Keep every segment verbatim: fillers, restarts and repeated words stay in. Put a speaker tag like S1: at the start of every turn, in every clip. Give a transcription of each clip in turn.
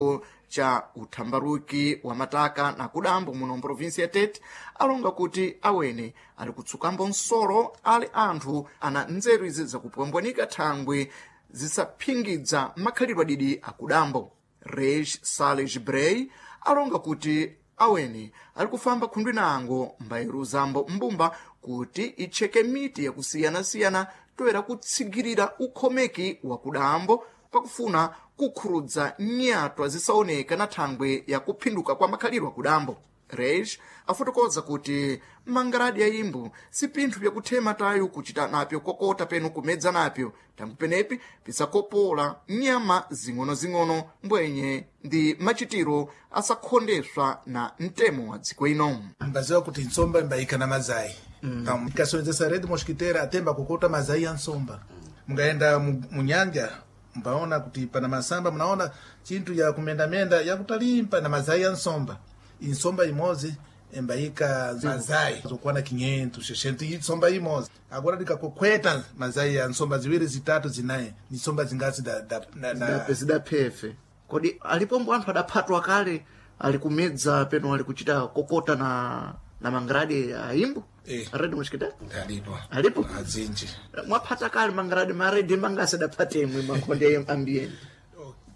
S1: mchigawiko cha uthambaruki wa mataka na kudambo muno mprovinsi ya Tete alonga kuti awene ali kutsukambo nsolo ali anthu ana nzeru izi zakupwambwanika thangwi zisaphingidza makhalidwe adidi akudambo. Reis Sales Brey alonga kuti awene ali kufamba khundwi nango mbayeruzambo mbumba kuti itcheke miti yakusiyanasiyana toera kutsigirira ukhomeki wa kudambo pakufuna kukhurudza nyatwa zisaoneka na thangwe ya kuphinduka kwa makhalidwe akudambo. Reis afotokoza kuti mangaradi ya imbu si pinthu pyakuthema tayo kuchita napyo kokota penu kumedza napyo, tangu penepi pisakopola nyama zing'onozing'ono mbwenye ndi machitiro asakhondeswa na mtemo wa dziko ino.
S2: Mbaziwa kuti nsomba imbayika na mazai mm. Ikasonzesa rede mosquiteira atemba kokota mazai ya nsomba. Mungaenda mu- munyanja mbaona kuti pana masamba, mnaona chinthu ya kumendamenda yakutalimpa na mazai ya nsomba. Insomba imozi embayika mazai zokwana quinhentos, seiscentos insomba imozi. Agora ndikakokweta mazai ya nsomba ziwiri, zitatu, zinayi, ni nsomba zingasi da, da, na, na,
S1: zidaphefe kodi alipombo anthu adaphatwa kale ali kumedza peno ali kuchita kokota na na mangradi a imbu
S2: Eh.
S1: red mosquiteira
S2: Alipo.
S1: Alipo?
S2: Azinji.
S1: Mwaphata kale mangradi maredi mangasi adaphatemwe makhonde ambiyeni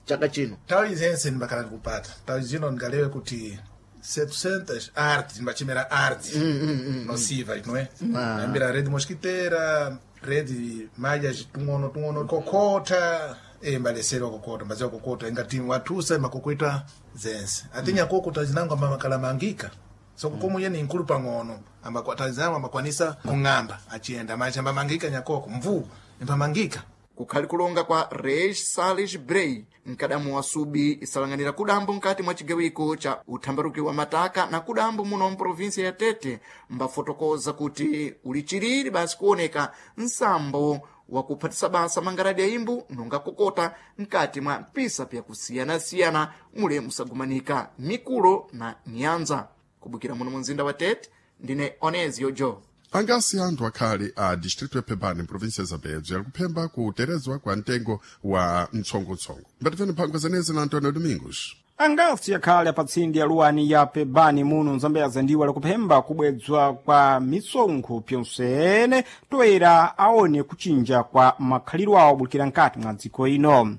S1: chaka chino?
S2: Nthawi zense ndimakhala ndikupata. Nthawi zino ndingalewe kuti setecentos arte, ndimachimera arte nociva, não é? Ambira rede mosquiteira, rede malhas tung'ono tung'ono, kokota e mbalesero kokota, mbaziwa kokota ingati watusa makokoita zense atinya kokota zinango amakala mangika so komo yene inkulu pang'ono ambakwatazama amakwanisa kung'amba achiyenda macha ambamangika nyakoko mvuu impamangika.
S1: Kukhali kulonga kwa Reis Sales Brey, mkadamu wa subi isalanganira kudambo mkati mwa chigawiko cha uthambaruki wa mataka na kudambo muno mprovinsia ya Tete, mbafotokoza kuti uli chiriri basi kuoneka nsambo wa kuphatisa basa mangaradi ya imbu nonga kokota mkati mwa mpisa pyakusiyanasiyana mule musagumanika mikulo na nyanza. Kubukira muno mu mzinda wa Tete, ndine Onesio Jo.
S3: Angasi anthu akhale a distrito ya Pebane, província ya Zambezia, ali kuphemba kuterezwa kwa mtengo wa mtsongotsongo. Mbatifeni mphangwa zenezi na Antonio Domingos.
S4: Angasi akhale apatsindi aluwani ya Pebani muno mzambeza ndiwo alikuphemba kubwedzwa kwa misonkho pyonsene toera aone kuchinja kwa makhalidwe awo bulikira nkati mwa dziko ino.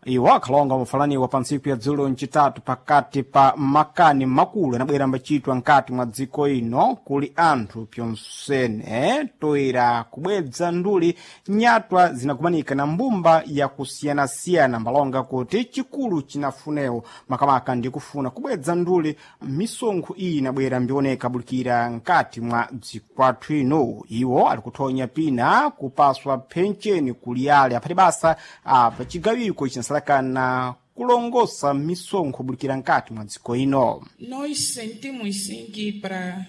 S4: Iwo akhalonga mafalaniwa pa ntsiku ya dzulo ncitatu pakati pa makani makulu anabwera mbachitwa nkati mwa dziko ino kuli anthu pyonsene toera kubwedza nduli nyatwa zinakumanika na mbumba yakusiyanasiyana, mbalonga kuti chikulu chinafunewo makamaka ndi kufuna kubwedza nduli misonkho iyi inabwera mbioneka bulikira nkati mwa dzikwathu ino. Iwo ali kuthonya pina kupaswa phencheni kuliyale aphati basa apa chigawiko chinasalakana kulongosa misonkho bulikira nkati mwa dziko ino.
S5: Nós sentimos sim que para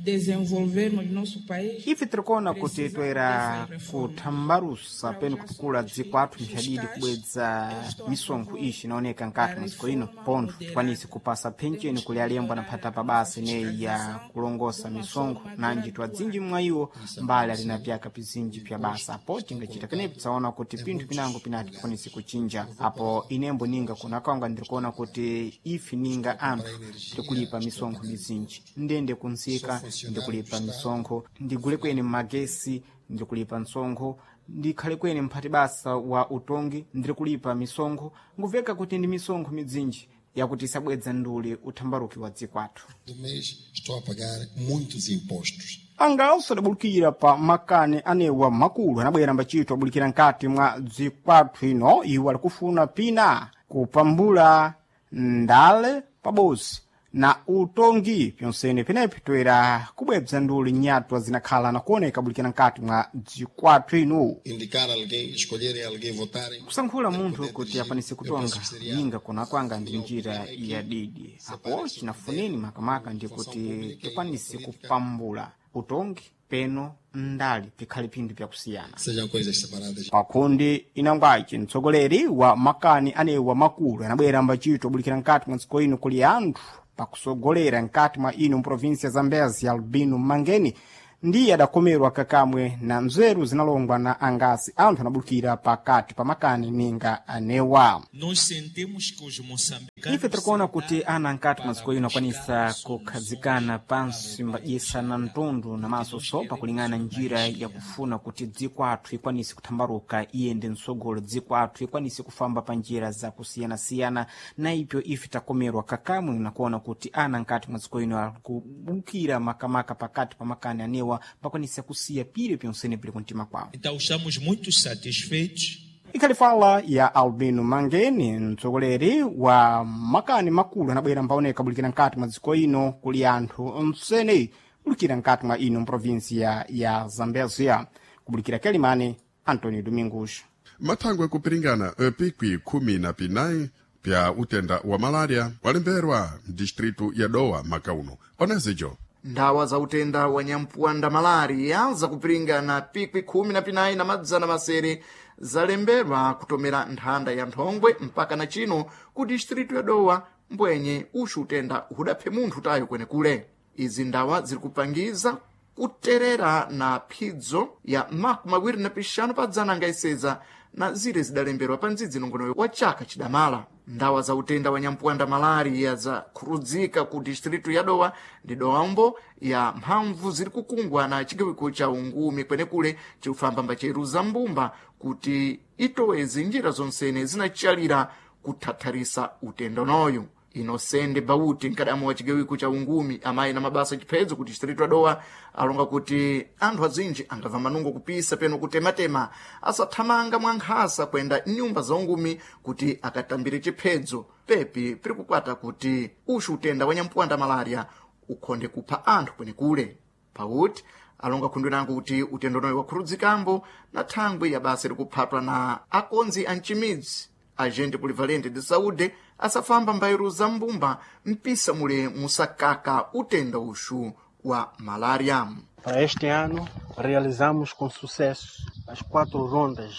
S5: desenvolvermos nosso país
S4: Ife tirikuona kuti toera kuthambarusa penu kutukula dziko athu mphadidi kubwedza misonkho ixi inaoneka nkati mwa dziko ino pontho tikwanise kupasa phencheni kuli alembo anaphata pa basa ineyi ya kulongosa misonkho nanji twadzinji mwa iwo mbali alina pyaka pizinji pya basa apo tingachita penepo tsaona kuti pinthu pinango pinati tikwanise kuchinja apo inembo ninga kunakonga ndirikuona kuti ife ninga anthu tikulipa misonkho mizinji ndende kuntsika ndikulipa misonkho, ndigule kweni magesi ndikulipa msonkho, ndikhale kweni mphati basa wa utongi ndikulipa misonkho. Nguveka kuti ndi misonkho midzinji yakuti isabwedza nduli uthambaruki wa dziko athu.
S6: Do mês estou a pagar muitos impostos.
S4: Anganso adabulukira pa makani anewa makulu anabwera mbachito abulikira nkati mwa dzikwathu ino. Iwo alikufuna pina kupambula ndale pabozi na utongi pyonsene penepi toera kubwebza nduli nyatwa zinakhala na kuoneka bulikira nkati mwa dzikwathu ino.
S6: Indicar alguém, escolherem alguém, votarem.
S4: Kusankhula munthu kuti akwanise kutonga ninga kona kwanga ndi njira ya didi apo chinafuneni makamaka ndi kuti tikwanise kupambula utongi peno ndali pikhale pinthu pyakusiyana.
S6: Sejam coisas separadas.
S4: Pakundi inangwaci mtsogoleri wa makani anewa makulu anabwera mbachito obulikira nkati mwa dziko ino kuli anthu pakusogolera nkati mwa ino mprovinsi ya Zambezi, Albino Mangeni, ndiye adakomerwa kakamwe na nzeru zinalongwa na angasi anthu anabulukira pakati pa makani ninga anewa.
S7: Nós sentimos que os moçambicanos
S4: Ife tirikuona kuti ana nkati maziko ino akwanisa kukhazikana pansi mbadyisana mtundu namaso sopa kulingana njira yakufuna kuti dziko athu ikwanise kuthambaruka iyende mtsogolo, dziko athu ikwanise kufamba pa njira zakusiyanasiyana. Na ipyo ife takomerwa kakamwe nakuona kuti ana nkati maziko ino akubukira makamaka pakati pa makani anewa pakwanisa kusiya pire pyonsene pili kumtima kwawo.
S7: Então estamos muito satisfeitos.
S4: Ikhali fala ya Albino Mangeni, mtsogoleri wa makani makulu anabwera mbaoneka bulikira nkati mwa dziko ino kuli anthu msene bulikira nkati mwa ino mprovinsia ya Zambezia. Kubulikira Kelimane, Antonio Domingos.
S3: Mathangwe kupiringana pikwi khumi na pinayi pya utenda wa malaria walemberwa mdistritu ya Dowa makauno onezijo.
S1: Ndawa za utenda wa nyampuwanda malaria zakupiringana pikwi khumi na pinayi na madzana masere zalembedwa kutomera nthanda ya nthongwe mpaka na chino ku distritu ya Dowa, mbwenye uxu utenda hudaphe munthu tayo kwenekule. Izi ndawa ziri kupangiza kuterera na phidzo ya makumi awiri na pixanu pa dzana angaiseza na zire zidalembedwa pa ndzidzi nongonoyo wa chaka chidamala. Ndawa za utenda wa nyampuwanda malaria zakhurudzika ku distritu ya Dowa ndi dombo ya mphamvu ziri kukungwa na chigawiko cha ungumi kwenekule chikufamba mbacheruza mbumba kuti itoweze njira zonsene zinachalira kuthatharisa utenda unoyu. Inosende Bauti, mkadamu wa chigawiko cha ungumi amayi na mabasa chiphedzo ku distritu ya Dowa, alonga kuti anthu azinji angamva manungo kupisa peno kutematema asathamanga mwa nkhasa kwenda nyumba za ungumi kuti akatambire chiphedzo pepi piri kukwata kuti uxu utenda wa nyampuwanda malaria ukhonde kupha anthu kwenekule. Pauti alonga khundwe nango kuti utenda unoyu wakhurudzikambo na thangwi ya basa likuphatwa na akonzi a mchimidzi agente polivalente de saúde asafamba mbairo za mbumba mpisa mule musakaka utenda uxu wa malaria.
S8: Para este ano, realizamos com sucesso as quatro rondas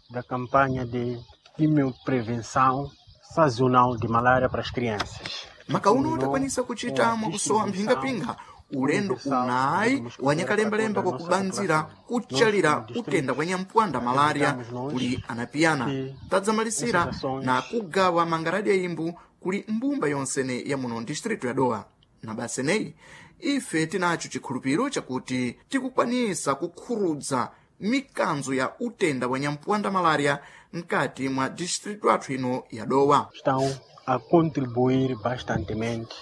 S8: da campanha de quimioprevenção sazonal de malária para as crianças.
S1: Makauno takwanisa kuchita mwakusowa mphingapinga ulendo unayi wanyakalembalemba kwa kubanzira kuchalira utenda kwa nyampuwanda malaria kuli anapiyana tadzamalisira na kugawa mangaradi ya imbu kuli mbumba yonsene ya muno distritu ya Dowa. Na baseneyi ife tinacho chikhulupiriro chakuti tikukwanisa kukhurudza mikanzo ya utenda wa nyampuwanda malaria mkati mwa distritu athu ino ya Dowa.
S8: Estão a contribuir bastantemente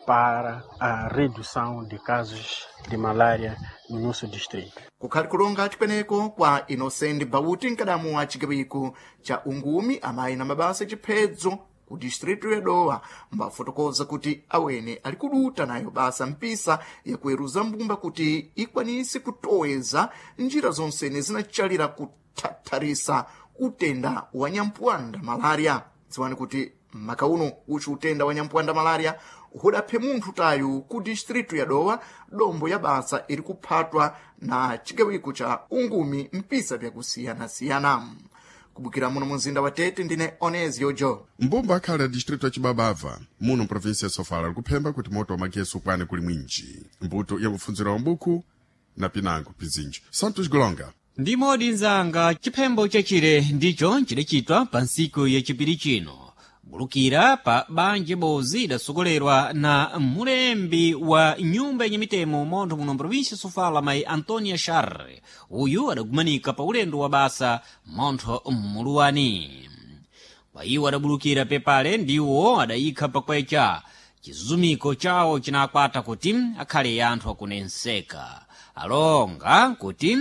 S8: para a redução de casos de malária no nosso distrito.
S1: Kukhali kulonga chikweneko kwa Inocente Bauti, mkadamu wa chigawiko cha ungumi amayi na mabasa chiphedzo ku distritu ya Dowa, mbafotokoza kuti awene ali kuduta nayo basa mpisa yakuweruza mbumba kuti ikwanise kutoweza njira zonsene zinachalira kuthatharisa utenda wa nyampuwanda malaria. Dziwani kuti maka uno uchi utenda wa nyampuwanda malaria hudaphe munthu tayu ku distritu ya Dowa, dombo ya basa iri kuphatwa na chigawiko cha ungumi mpisa vyakusiyanasiyana. Kubukira muno mumzinda wa Tete, ndine Onesio Jo.
S3: Mbumba akhale a distritu ya Chibabava muno mprovinsia ya Sofala likuphemba kuti moto wa magesi ukwane kuli mwinji mbuto ya mupfundziro wa mbuku na pinango pizinji. Santos Golonga.
S9: Ndimodi nzanga, chiphembo chachire ndicho chidachitwa pa ntsiku yachipiri chino bulukira pa banja bozi idasogolerwa na mulembi wa nyumba yenye mitemo montho muno mprovinsia Sofala, mayi Antonia Sharre. Uyu adagumanika pa ulendo wa basa montho mmuluwani. Pa iwo adabulukira pepale ndiwo adayikha pakwecha chizumiko chawo chinakwata kuti akhale anthu akunenseka alonga kuti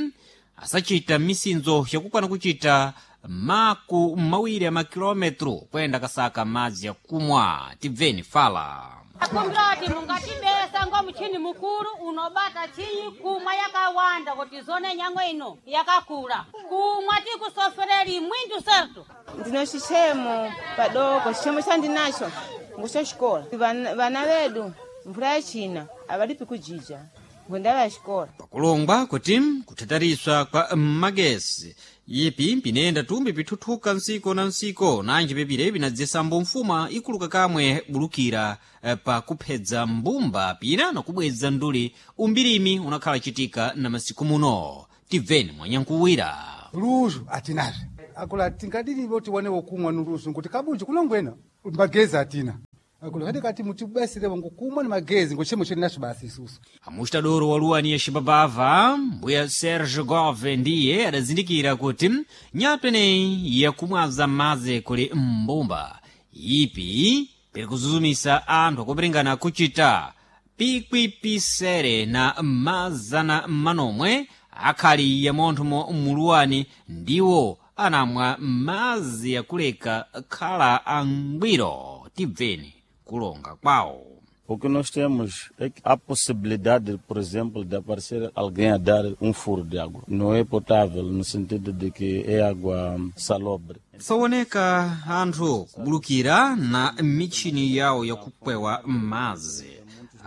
S9: asachita misinzo yakukwana kuchita maku mawiri a makilometro kuyenda kasaka madzi akumwa. Tibveni fala.
S10: Akumbirati mungatibesa ngo muchini mukulu unobata chinyi kumwa yakawanda kuti zone nyango ino yakakula kumwa tikusofereli mwindu sertu.
S11: Ndino chichemo padoko, chichemo chandinacho ngucho xikola. Vana vana vedu mvula yachina avalipi kujija ngwenda va xikola.
S9: Pakulongwa kuti kutatariswa kwa magesi ipi pinenda tumbi pithuthuka ntsiko na ntsiko nanji pepire pinadzesambo mfuma ikuluka kamwe bulukira eh, pa kuphedza mbumba pina nakubweza nduli umbirimi unakhala chitika na masiku muno. Tibveni mwanyankuwira.
S12: Luzu atinazve akula tingadirivo tiwane wokumwa nuluzu nkuti kabunji kulongwena magezi atina. Akulu kati mutibasire ngokumwa ni magezi ngochemo chiri nacho basi isusu.
S9: Amustadoro wa luwani ya Xibabava, mbuya Serge Gove ndiye adazindikira kuti nyatwa ineyi yakumwaza madzi kuli mbumba ipi piri kuzuzumisa anthu akupiringana kuchita pikwipisere na mazana manomwe akhali ya monthomo muluwani ndiwo anamwa madzi akuleka khala angwiro. Tibveni kulonga kwawo.
S13: O que nós temos é que há possibilidade, por exemplo, de aparecer alguém a dar um furo de água. Não é potável, no sentido de que é água salobre.
S9: Sawoneka anthu kubulukira na mitchini yawo yakupwewa madzi.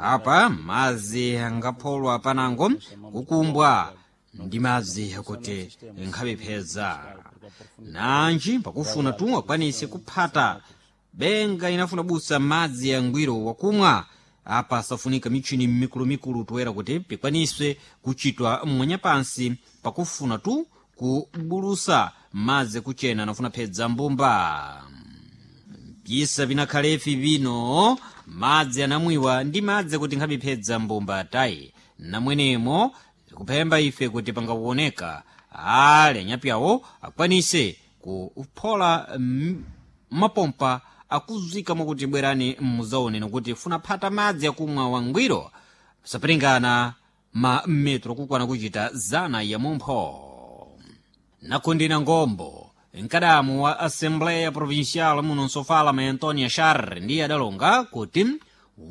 S9: Apa madzi angapholwa panango kukumbwa ndi madzi akuti nkhapepheza nanji pakufuna tu akwanise kuphata benga inafuna busa madzi yangwiro wakumwa. Apa safunika mitchini mikulumikulu toera kuti pikwaniswe kuchitwa mwanyapansi pakufuna tu kubulusa madzi kuchena nafuna phedza mbumba. Pyisa vinakhalefi vino madzi anamwiwa ndi madzi kuti nkhapiphedza mbumba tayi namwenemo tikuphemba ife kuti pangakuoneka ale anyapyawo akwanise kuphola mapompa akuzika mwakuti bwerani muzaone nokuti funa phata madzi akumwa wangwiro sapiringana ma metro kukwana kuchita zana ya mumpho. Nakundina ngombo mkadamu wa assembleya provincial muno nsofala ma Antonia Shar ndiye adalonga kuti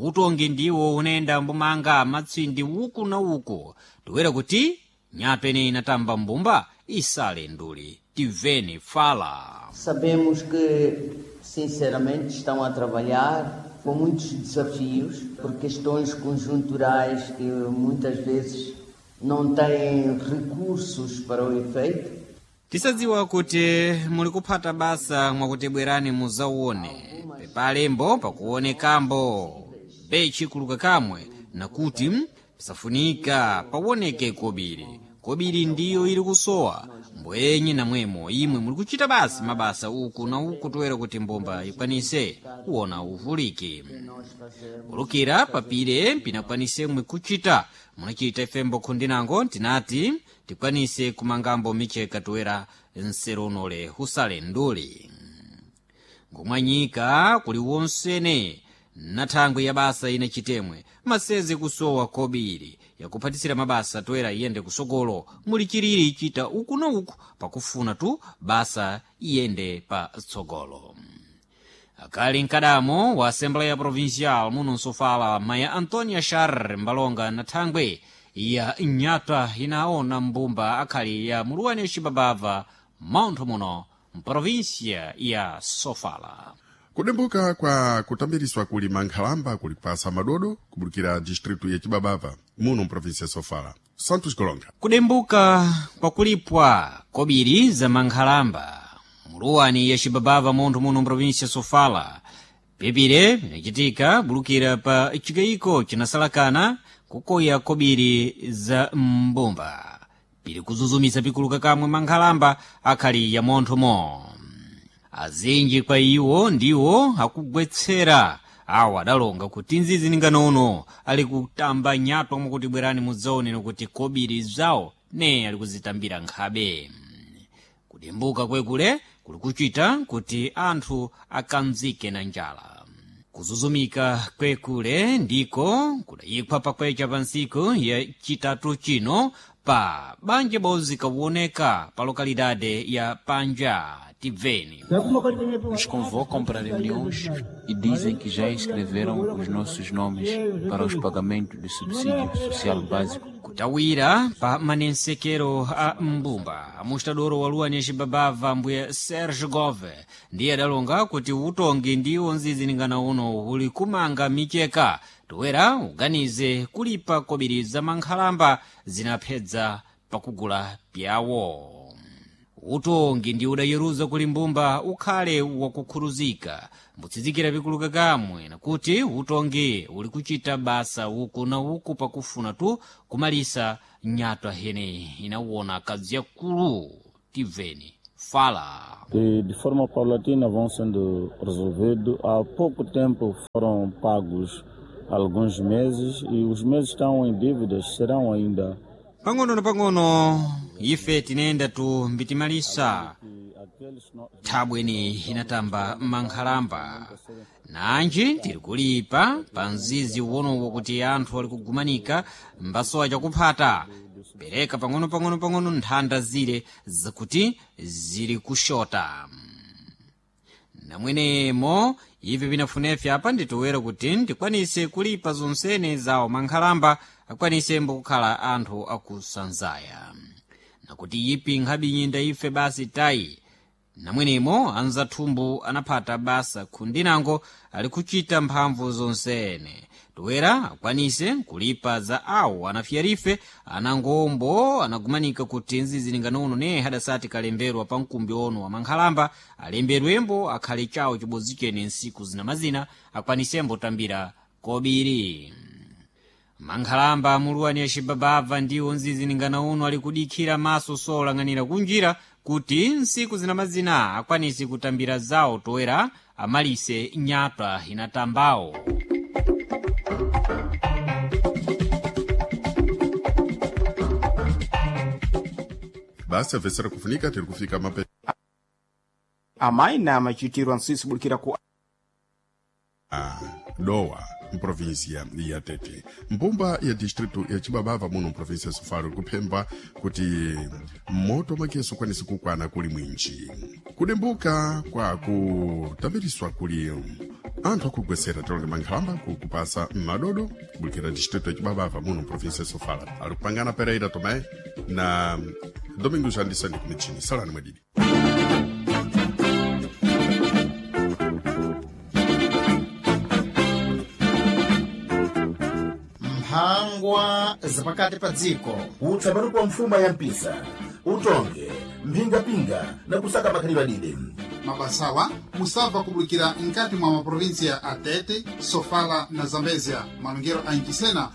S9: utongi ndiwo unayenda mbumanga matsindi uku na uku toera kuti nyapene inatamba mbumba isale nduli. Tiveni fala.
S14: Sabemos que, sinceramente, estão a trabalhar com muitos desafios, por questões conjunturais que muitas vezes não têm recursos para o efeito.
S9: Tisadziwa kuti muli kuphata basa mwakuti bwerani muzaone pepalembo pakuonekambo pechikuluka kamwe nakuti pisafunika pawoneke kobiri. Kobiri ndiyo ili kusowa mbwenye namwemo imwe muli kuchita basi mabasa uku na uku toera kuti mbumba ikwanise kuona uvuliki kulukira papire pinakwanise mwe kuchita munachita ifembo khundinango tinati tikwanise kumangambo micheka toera nseronole husale nduli ngomwanyika kuli wonsene na thangwi ya basa ina chitemwe maseze kusowa kobiri yakuphatisira mabasa toera iyende kusogolo muli chiriri chita uku na uku pakufuna tu basa iyende pa tsogolo. Akali mkadamo wa assembleya provincial muno nsofala maya Antonia Shar mbalonga na thangwi ya nyatwa inaona mbumba akhali ya muluwani ya Xibabava mauntho muno mprovinsia ya Sofala.
S3: Kudimbuka kwa kutambiriswa kulima nkhalamba kuli kupasa madodo kubulukira distritu ya Chibabava muno mprovinsia ya Sofala. Santos Golonga.
S9: Kudimbuka kwa kulipwa kobiri za mankhalamba muluwani ya Xibabava munthu muno mprovinsia ya Sofala pepire pinachitika bulukira pa chikayiko chinasalakana kukoya kobiri za mbumba pili kuzuzumisa pikuluka kamwe mankhalamba akhali ya monthomo. Azinji kwa iwo ndiwo akugwetsera awo adalonga kuti nzizi ninganono ali kutamba nyatwa mwakuti bwerani mudzaone nokuti kobiri zawo ne ali kuzitambira nkhabe. Kudimbuka kwekule kuli kuchita kuti anthu akanzike na njala. Kuzuzumika kwekule ndiko kudayikhwa pakwecha pa ntsiku ya chitatu chino pa banja bozi kawoneka pa lokalidade ya Panja. Tibveni.
S15: Nos convocam para reuniões e dizem que já escreveram os nossos nomes para os pagamentos do subsídio social básico.
S9: Kutawira pa manensekero a mbumba amustadoro wa luwani ya Xibabava mbuya Serge Gove ndiye adalonga kuti utongi ndiwo nziziningana uno uli kumanga micheka toera uganize kulipa kobiri za mankhalamba zinaphedza pakugula pyawo. Utongi ndi udayeruza kuli mbumba ukhale wakukhuluzika mbutsitsikira pikuluka kamwe nakuti utongi uli kuchita basa uku na uku pakufuna tu kumalisa nyatwa hene inawona kadzi yakulu. Tibveni Sofala.
S13: Que de forma paulatina vão sendo resolvidos. Há pouco tempo foram pagos alguns meses e os meses estão em dívidas, serão ainda.
S9: Pang'ono na pang'ono ife tinayenda tu mbitimalisa thabweni inatamba mankhalamba nanji tiri kulipa pa mzizi uwonowo kuti anthu ali kugumanika mbasowa chakuphata pereka pang'ono pang'ono pang'ono nthanda zile zakuti zili kushota namwenemo ivi pinafunefye apa nditowera kuti ndikwanise kulipa zonsene zawo mankhalamba akwanisembo kukhala anthu akusanzaya nakuti ipi nkhabinyinda ife basi tayi namwenemo anzathumbu anaphata basa khundinango ali kuchita mphamvu zonsene toera akwanise kulipa za awo anafyarife anangombo anagumanika kuti nzizilinganono ne hadasati kalemberwa pa mkumbi ono wa mankhalamba alembedwembo akhale chawo chibodzi chene nsiku zinamazina akwanisembo tambira kobiri mankhalamba amuluwani acibababva ndiwo nzizilingana uno ali kudikhira maso solang'anira kunjira kuti nsiku zinamazina akwanise kutambira zawo toera amalise nyatwa inatambawo.
S3: Basi avesera kufunika tiri kufika mape
S4: Amayi na machitirwa nsisi bulikira ku
S3: a Dowa mprovinsia ya Tete, mbumba ya distrito ya Chibabava muno mprovinsia ya Sofala kuphemba kuti moto makeso ukwanise kukwana kuli mwinji kudimbuka kwa kutambiriswa kuli anthu akugwesera tilonge mankhalamba kukupasa madodo kubulikira distrito ya Chibabava muno mprovinsia ya Sofala. Ali kupangana Pereira Tomé na Domingos Anderson kumichini. Salani mwadidi.
S16: Mphangwa zapakati pa dziko.
S17: Utsapano kwa mfuma ya mpisa utonge mphingapinga na kusaka makhalidwe adide.
S18: Mabasawa musabva kubulikira nkati mwa maprovinsia a Tete, Sofala na Zambezia, malongero a Inchisena.